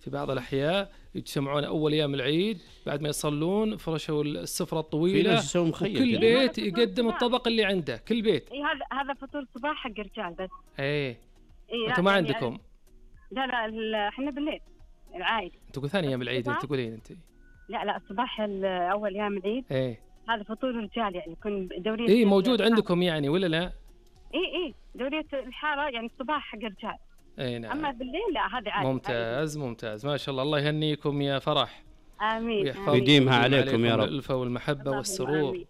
في بعض الأحياء يجتمعون أول أيام العيد بعد ما يصلون، فرشوا السفرة الطويلة، وكل بيت يقدم الطبق اللي عنده، كل بيت. هذا فطور صباح حق الرجال بس. أنتم ما عندكم؟ لا احنا بالليل العائد. أنتوا ثاني أيام العيد تقولين أنت؟ لا الصباح أول أيام العيد. هذا فطور الرجال يعني يكون دورية. موجود عندكم يعني ولا لا؟ دورية الحارة يعني الصباح حق الرجال. نعم. أما بالليل لا، هذا عادي. ممتاز ما شاء الله. الله يهنيكم يا فرح. آمين. ويديمها عليكم يا رب. الألفة والمحبة والسرور. آمين.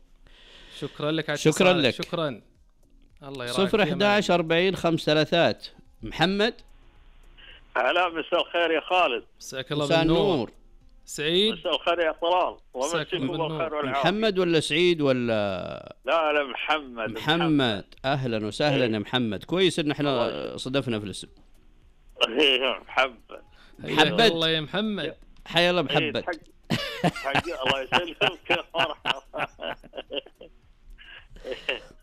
شكرا لك. شكرا لك. شكرا. الله يراعيك. 011 40 53. محمد. هلا، مساء الخير يا خالد. مساك الله بالنور. سعيد. مساء الخير يا طلال. مساكم بالخير والعافية. محمد ولا سعيد ولا؟ لا محمد. أهلا وسهلا يا محمد. كويس إن احنا صدفنا في الاسم. محمد. الله يا محمد. حيا الله محمد. الله يسلمك يا فرحة.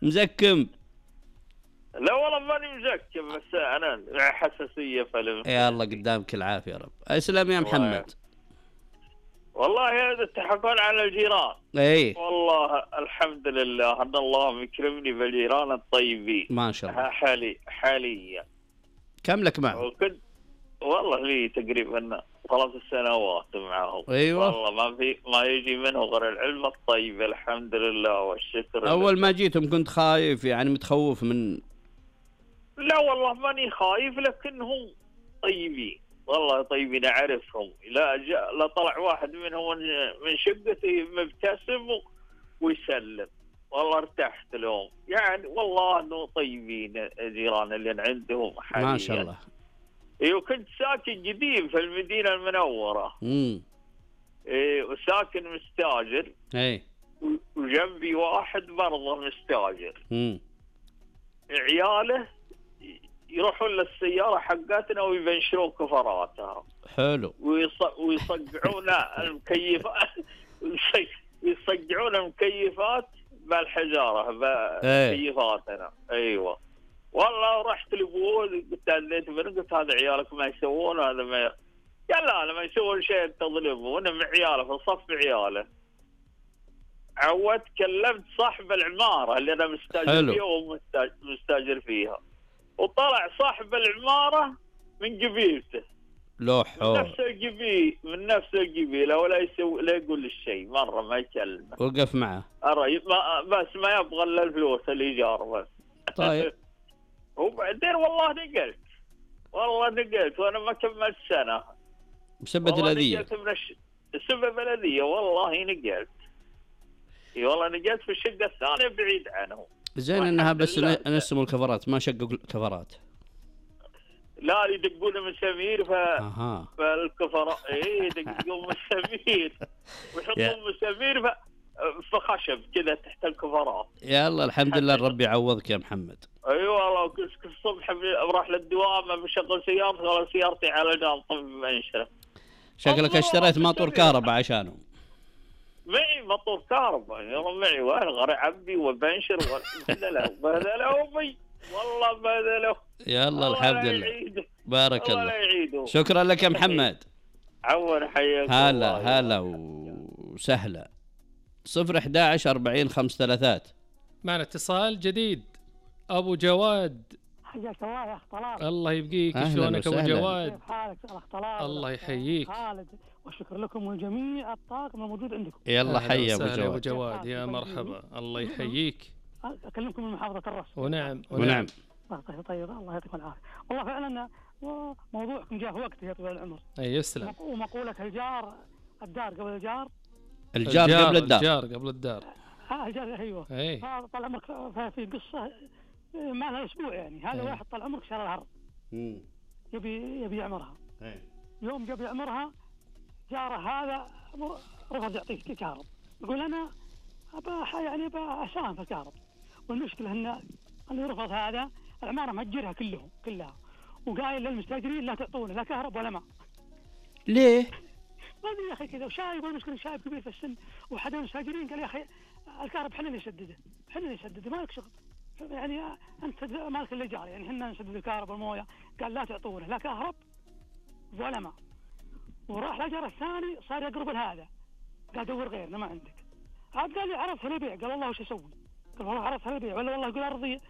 مزكم؟ لا والله ماني مزكم، بس أنا حساسية فلم. يا الله قدامك العافية يا رب. أسلم يا محمد. والله هذا تحفل على الجيران. والله الحمد لله أن الله مكرمني بالجيران الطيبين ما شاء الله. حاليا كم لك معه؟ والله لي تقريبا 3 سنوات معهم. والله ما يجي منه غير العلم الطيب، الحمد لله والشكر. أول ما جيتم كنت خايف يعني متخوف من؟ لا والله ماني خايف، لكنهم طيبين والله طيبين أعرفهم. لا طلع واحد منهم من شقتي مبتسم ويسلم، والله ارتحت لهم يعني. والله انه طيبين جيران اللي عندهم حاليا ما شاء الله. وكنت ساكن قديم في المدينة المنورة. وساكن مستاجر. وجنبي واحد برضه مستاجر. عياله يروحون للسيارة حقتنا ويبنشرون كفراتها. حلو. ويصقعون المكيفات. يصقعون المكيفات بالحجارة بكيفاتنا. أيوة والله. رحت لأبوه قلت قلت هذا عيالك ما يسوون هذا ما قال لا ما يسوون شيء تظلمه، وانا مع عياله في صف عياله. عودت كلمت صاحب العمارة اللي انا مستاجر فيها ومستاجر فيها، وطلع صاحب العمارة من قبيلته. من نفس القبيلة ولا يسوي لا يقول الشيء مرة ما يكلمه. وقف معه. بس ما يبغى الا الفلوس الإيجار بس. طيب. وبعدين والله نقلت وانا ما كملت سنة بسبب الأذية. بسبب الأذية والله نقلت. والله نقلت في الشقة الثانية بعيد عنه. زين انها بس نسموا الكفرات ما شقوا الكفرات. لا يدقون مسامير فالكفرات. يدقون مسامير ويحطون مسامير في خشب كذا تحت الكفرات. يلا الحمد لله الرب يعوضك يا محمد. والله كل الصبح بروح للدوام بشغل سيارتي على جنب منشرة. شكلك اشتريت ماطور كهرباء عشانه. معي ماطور كهرباء معي غير عبي وبنشر بهذا أمي والله بهذا. يلا الحمد لله بارك الله. شكرا لك يا محمد. عون حياك. هلا وسهلا. 011 40 53. معنا اتصال جديد. أبو جواد. حياك الله يا أخ طلال. الله يبقيك. شلونك أبو جواد؟ كيف حالك يا أخ طلال؟ الله يحييك. خالد والشكر لكم والجميع الطاقم الموجود عندكم. يلا حي يا أبو جواد. يا مرحبا. الله يحييك. أكلمكم من محافظة الرش. ونعم. طيب الله يعطيكم العافية. والله فعلا موضوعكم جاء في وقته يا طويل العمر. يسلم. ومقولة الدار قبل الجار. الجار قبل الدار. الجار ايوه. طال عمرك في قصة ما لها اسبوع يعني. هذا واحد طال عمرك شرى الارض. يبي يعمرها. يوم جاب يعمرها جاره هذا رفض يعطيك كهرب. يقول انا ابى اساهم في الكهرب. والمشكلة ان اللي رفض هذا العمارة مأجرها كلها وقايل للمستاجرين لا تعطونه لا كهرب ولا ماء. ليه؟ ما ادري يا اخي كذا. وشايب المشكلة شايب كبير في السن وحدا من المستاجرين قال يا اخي الكهرب حنا اللي نسدده مالك شغل يعني انت مالك الايجار يعني حنا نسدد الكهرب والمويه. قال لا تعطونه لا كهرب ولا ماء. وراح الأجر الثاني صار يقرب لهذا، قال دور غيرنا ما عندك. عاد قال لي عرضها للبيع، قال والله وش اسوي؟ قال والله عرضها للبيع ولا والله يقول ارضي